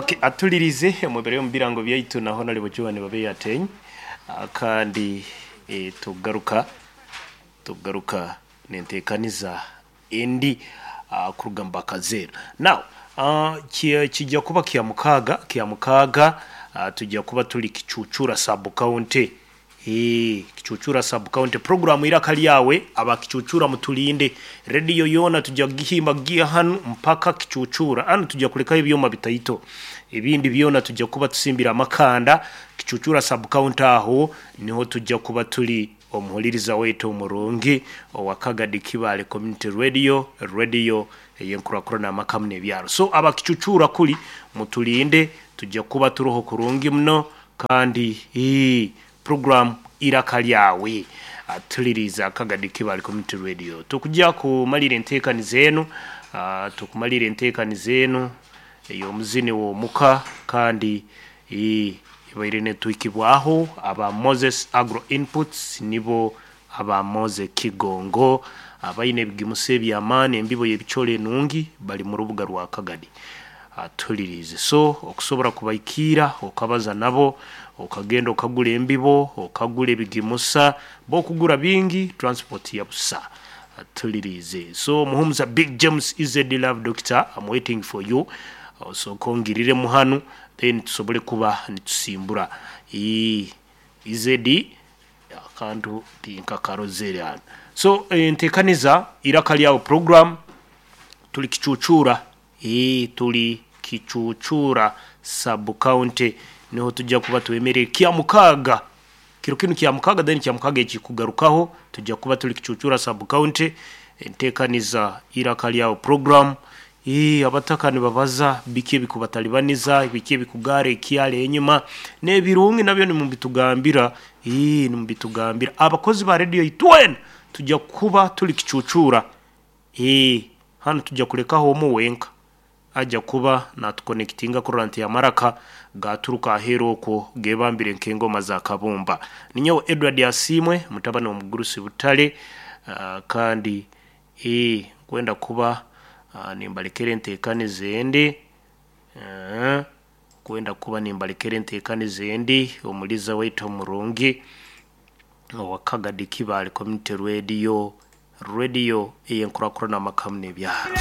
Okay, atulirize omubere omu birango byaitu naho nali bujuwani babe yatenyi. Kandi tugaruka tugaruka nentekaniza endi kuruga mu bakazeera. Now kijja kuba kya mukaaga, kya mukaaga, tujja kuba tuli Kicucura sub county. Kicucura sub county program Iraka Lyawe. Aba Kicucura mutulinde, radio yoona tujja kugihimba kugiha hanu mpaka Kicucura. Hanu tujja kulekayo ebyoma bitaito, ebindi byona tujja kuba tusimbire amakanda. Kicucura sub county aho niho tujja kuba tuli. Omuhuliriza waitu omurungi owa Kagadi Kibaale Community Radio, radio ey'enkurakurana amakamu n'ebyaro. So aba Kicucura kuli mutulinde, tujja kuba turoho kurungi muno. Kandi program Iraka Lyawe, atuliriza Kagadi Kibaale Community Radio. Tukujja kumalira enteekaniza enu, tukumalira enteekaniza enu ey'omuzini w'omuka. Kandi ibaire netwikibwaho aba Moses Agro Inputs, nibo aba Mose Kigongo abaine ebigimusa eby'amaani, embibo y'ebicoolo enungi, bali mu rubuga rwa Kagadi. Atulirize. So okusobora kubaikiira, okabaza nabo, okagenda okagura embibo, okagura ebigimusa, bokugura bingi, transport ya busa. Atulirize. So Muhumuza Big James EZD Love Doctor, I'm waiting for you. Osooka ongiriremu hanu, then tusobole kuba nitusimbura. EZD akantu tinkakarozere hanu. So entekaniza Iraka Lyawe program, tuli Kicucura, tuli Kicucura sub county, niho tujja kuba twemerere kya mukaaga kiro kinu, kya mukaaga. Then kya mukaaga ekikugarukaho tujja kuba tuli Kicucura sub county, entekaniza Iraka Lyawe program. Abataka nibabaza biki ebikubatalibaniza, biki ebikugara ekyalo enyuma, n'ebirungi nabyo nimubitugambira, nimubitugambira. Abakozi ba radio itwena tujja kuba tuli Kicucura. Hanu tujja kulekaho omu wenka ajja kuba natuconnectinga kurora nti amaraka gaturuka aheeru okwo gebambire nk'engoma za kabumba. Ninyowe Edward Asiimwe, mutabani w'omugurusi Butale. Kandi nkwenda kuba nimbalekera enteekaniza endi, kwenda kuba nimbalekera enteekaniza endi, omuliza waitu omurungi owa Kagadi Kibaale Community Radio, radio ey'enkurakurana amakamu n'ebyaro.